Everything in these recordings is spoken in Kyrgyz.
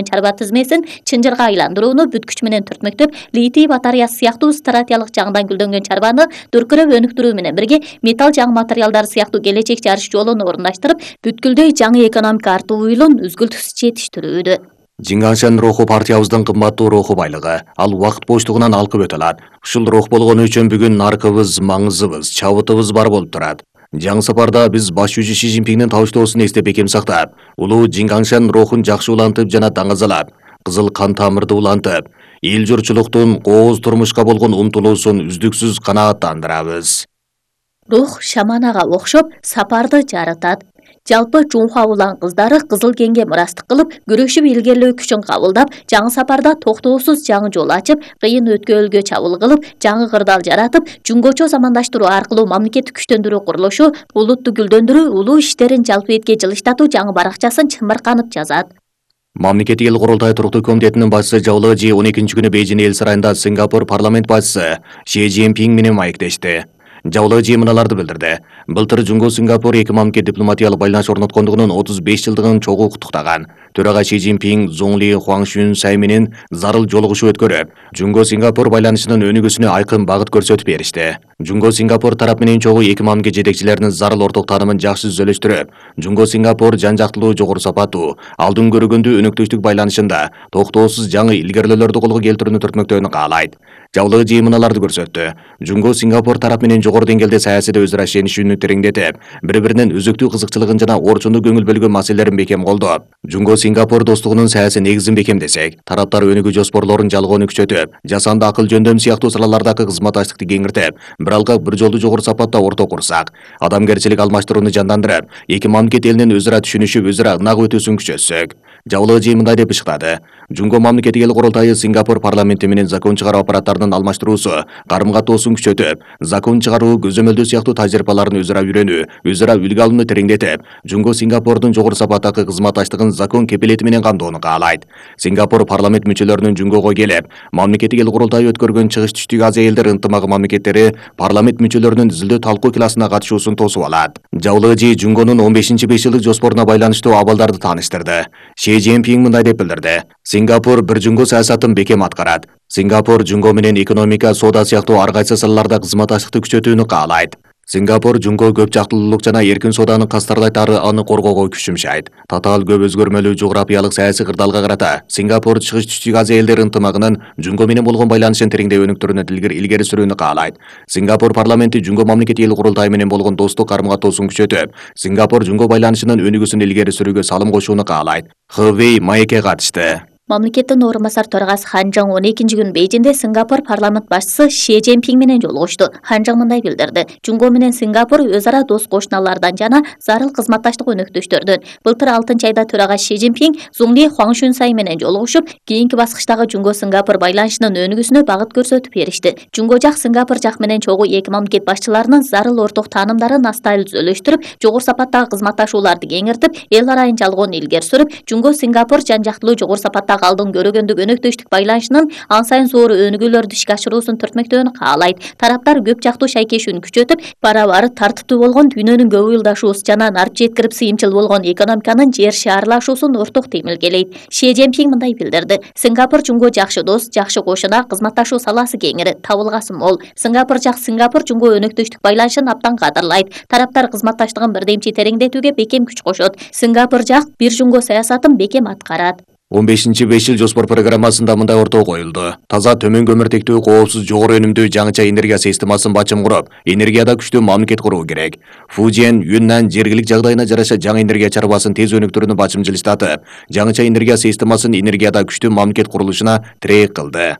чарба тизмесин чынжырга айландырууну бүт күч менен түртмөктөп, литий батареясы сыяктуу стратегиялык жагынан гүлдөнгөн чарбаны дүркүрөп өнүктүрүү менен бирге металл жаңы материалдар сыяктуу келечек жарыш жолун орундаштырып, бүткүлдөй жаңы экономика артуу уюлун үзгүлтүксүз жетиштирүүдө. Жиңгаңшан руху партиябыздын кымбаттуу руху байлыгы. Ал убакыт боштугунан алкып өтө алат. Ушул рух болгону үчүн бүгүн наркыбыз, маңызыбыз, чабытыбыз бар болуп турат. Жаңы сапарда биз баш жүзү Ши Цзиньпиндин табыштоосун эстеп бекем сактап, улуу Жиңгаңшан рухун жакшы улантып жана даңазалап, кызыл кан тамырды улантып, эл журтчулуктун кооз турмушка болгон умтулуусун үздүксүз канааттандырабыз. Рух шаманага окшоп сапарды жарытат. Жалпы Чунхуа улан кыздары кызыл кеңге мурастык кылып, күрөшүп илгерлөө күчүн кабылдап, жаңы сапарда токтоосуз жаңы жол ачып, кыйын өткөөлгө чабуул кылып, жаңы кырдаал жаратып, жунгочо замандаштыруу аркылуу мамлекеттик күчтөндүрүү курулушу, улутту гүлдөндүрүү, улуу иштерин жалпы этке жылыштатуу жаңы баракчасын чымырканып жазат. Мамлекеттик эл курултай туруктуу комитетинин башчысы Жаулы Жи 12 күнү Бейжин эл сарайында Сингапур парламент башчысы Ши Цзиньпин менен маектешти. Жаулы Жи мыналарды билдирди. Былтыр Жунго Сингапур эки мамлекет дипломатиялык байланыш орноткондугунун 35 жылдыгын чогуу куттуктаган. Төрага Ши Цзиньпин Зуңли Хуаңшүн менен зарыл жолугушуу өткөрүп, Жунго Сингапур байланышынын өнүгүүсүнө айкын багыт көрсөтүп беришти. Жунго Сингапур тарап менен чогуу эки мамлекет жетекчилеринин зарыл орток таанымын жакшы түзөлүштүрүп, Жунго Сингапур жан жактылуу, жогору сапаттуу, алдын көргөндүү өнөктөштүк байланышында токтоосуз жаңы илгерүүлөрдү колго келтирүүнү түртмөктөөнү каалайт. Жаулы Жи мыналарды көрсөттү. Жунго Сингапур тарап менен жогору деңгээлде саясийде өз ара ишенишүүнү тереңдетип, бири-биринин үзүктүү кызыкчылыгын жана орчундуу көңүл бөлгөн маселелерин бекем колдоп, Жунго Сингапур достугунун саясий негизин бекемдесек, тараптар өнүгүү жоспорлорун жалгоону күчөтүп, жасанды акыл жөндөм сыяктуу салалардагы кызматташтыкты кеңиртип, бир алкак бир жолду жогору сапатта орто курсак, адамгерчилик алмаштырууну жандандырып, эки мамлекет элинин өз ара түшүнүшүп, өз ара ынак өтүүсүн күчөтсөк. Жаулы Жи мындай деп ышыктады. Жунго мамлекеттик эл курултайы Сингапур парламенти менен закон чыгаруу аппараттарынын алмаштыруусу, карым-катоосун күчөтүп, закон чыгаруу, көзөмөлдөө сыяктуу тажрыйбаларын өз ара үйрөнүү, өз ара үлгү алууну тереңдетип, Жунго Сингапурдун жогору сапаттагы кызматташтыгын закон кепилети менен камтоону каалайт. Сингапур парламент мүчөлөрүнүн Жунгого келип, мамлекеттик эл курултайы өткөргөн Чыгыш Түштүк Азия элдер ынтымагы мамлекеттери парламент мүчөлөрүнүн изилдөө талкуу классына катышуусун тосуп алат. Жаулы Жи Жунгонун 15-5 жылдык жоспоруна байланыштуу абалдарды тааныштырды. Ши Цзиньпин мындай деп билдирди. Сингапур бир Жунго саясатын бекем аткарат. Сингапур Жунго менен экономика, соода сыяктуу ар кайсы салаларда кызматташтыкты күчөтүүнү каалайт. Сингапур Жунго көп жактылуулук жана эркин сооданын кастарлайт ары аны коргоого күч жумшайт. Татаал көп өзгөрмөлүү жографиялык саясий кырдаалга карата Сингапур Чыгыш Түштүк Азия элдер ынтымагынын Жунго менен болгон байланышын тереңдей өнүктүрүүнү илгери сүрүүнү каалайт. Сингапур парламенти Жунго мамлекеттик эл курултайы менен болгон достук карым-катоосун күчөтүп, Сингапур Жунго байланышынын өнүгүүсүн илгери сүрүүгө салым кошууну каалайт. Хэвэй маекке катышты. Мамлекеттин орун басар төрагасы Хан Чжоң 12 күнү Бейжинде Сингапур парламент башчысы Ши Цзиньпин менен жолугушту. Хан Чжоң мындай билдирди. Жунго менен Сингапур өз ара дос кошуналардан жана зарыл кызматташтык өнөктөштөрдөн. Былтыр 6-айда төрага Ши Цзиньпин Зуңли Хуаңшүн менен жолугушуп, кийинки баскычтагы Жунго Сингапур байланышынын өнүгүүсүнө багыт көрсөтүп беришти. Жунго жак Сингапур жак менен чогуу эки мамлекет башчыларынын зарыл орток таанымдарын астайлы түзөлүштүрүп, жогору сапаттагы кызматташууларды кеңиртип, эл арайын жалгоону илгери сүрүп, Жунго Сингапур жан жактылуу жогору сапаттагы алдын көргөндүк өнөктөштүк байланышынын ан сайын зор өнүгүүлөрдү ишке ашыруусун түртмөктөөнү каалайт. Тараптар көп жактуу шайкешүүнү күчөтүп, бара-бары тартиптүү болгон дүйнөнүн көп ыйылдашуусу жана нарып жеткирип сыйымчыл болгон экономиканын жер шаарлашуусун орток темилгелейт. Ши Цзиньпин мындай билдирди. Сингапур Жунго жакшы дос, жакшы кошуна, кызматташуу саласы кеңири, табылгасы мол. Сингапур Жунго өнөктөштүк байланышын абдан кадырлайт. Тараптар кызматташтыгын бирдемчи тереңдетүүгө бекем күч кошот. Сингапур жак бир Жунго саясатын бекем аткарат. 15-5 жыл жоспор программасында мындай ортого коюлду. Таза төмөн көмүртектүү, коопсуз, жогору өнүмдүү жаңыча энергия системасын бачым куруп, энергияда күчтүү мамлекет куруу керек. Фужен, Юннан жергилик жагдайына жараша жаңы энергия чарбасын тез өнүктүрүүнү бачым жылыштатып, жаңыча энергия системасын энергияда күчтүү мамлекет курулушуна тирек кылды.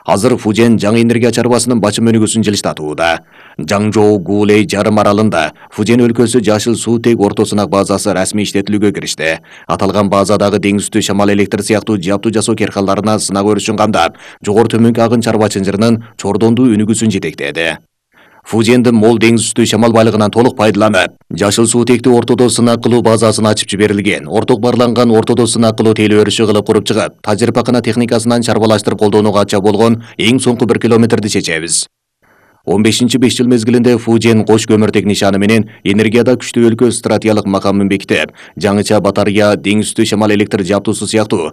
Азыр Фужен жаңы энергия чарбасынын бачым өнүгүүсүн жылыштатууда. Жаңжоу Гулей жарым аралында Фужен өлкөсү жашыл суутек ортосунак базасы расмий иштетилүүгө киришти. Аталган базадагы деңиз үстү шамал электр сыяктуу жаптуу жасоо керкаларына сынак өрүшүн камдап, жогору төмөнкү агын чарба чынжырынын чордондуу өнүгүүсүн жетектеди. Фужендин мол деңиз үстү шамал байлыгынан толук пайдаланып, жашыл суутекти ортодо сынак кылуу базасын ачып жиберилген. Орток барланган ортодо сынак кылуу теле өрүшү кылып куруп чыгып, тажрыйбакана техникасынан чарбалаштырып колдонууга ача болгон эң соңку 1 километрди чечебиз. 15-5 жыл мезгилинде Фужен кош көмүртек нишаны менен энергияда күчтүү өлкө стратегиялык макамын бекитип, жаңыча батарыя, деңиз үстү шамал электр жабдуусу сыяктуу